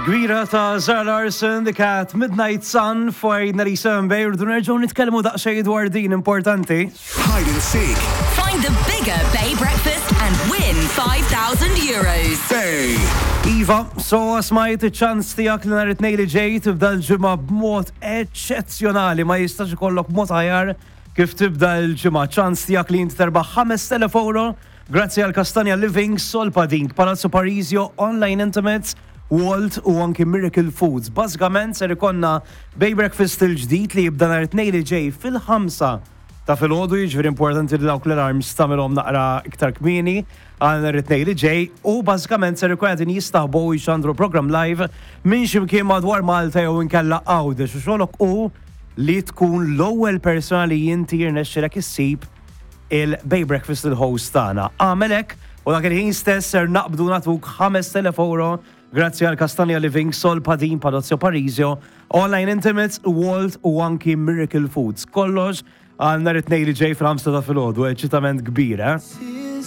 Kbira ta' Zara Larson, The Cat, Midnight Sun, fuq 97 Bay, rridu nerġgħu nitkellmu daqsxejn dwar din importanti. Hide and seek. Find the bigger Bay Breakfast and win 5,000 euros. Bay. Iva, so smajt iċ-ċans tiegħek li nhar it-tnejn li ġej tibda l-ġimgħa b'mod eċċezzjonali, ma jistax ikollok mod aħjar kif tibda l-ġimgħa. Ċans tiegħek li inti terbaħ 5,000 euro grazzi għal Castagna Living, Solpadink, Palazzo Parisio, Online Intimates, Walt u anki Miracle Foods. Bażikament ser ikollna Bay Breakfast il-ġdid li jibda nhar it-tnejn li ġej fil-5 ta' filgħodu, jiġifieri importanti li dawk l-alarms tagħmilhom naqra iktar kmieni għal nhar it-tnejn li ġej u bażikament ser ikun qegħdin jistaħbu u jxandru programm live minn xi mkien madwar Malta jew inkella Għawdex u xogħlok hu li tkun l-ewwel persuna li inti jirnexxilek issib il-Bay Breakfast il-host tagħna. Agħmel hekk u dak il-ħin stess ser naqbdu nagħtuk 5,000 euro grazzi għal Castagna Living, Sol Padin, Palazzo Parisio, Online Intimates, Walt u anki Miracle Foods. Kollox għal nhar it-tnejn li ġej fil-5 ta' filgħodu, eċitament kbir, eh?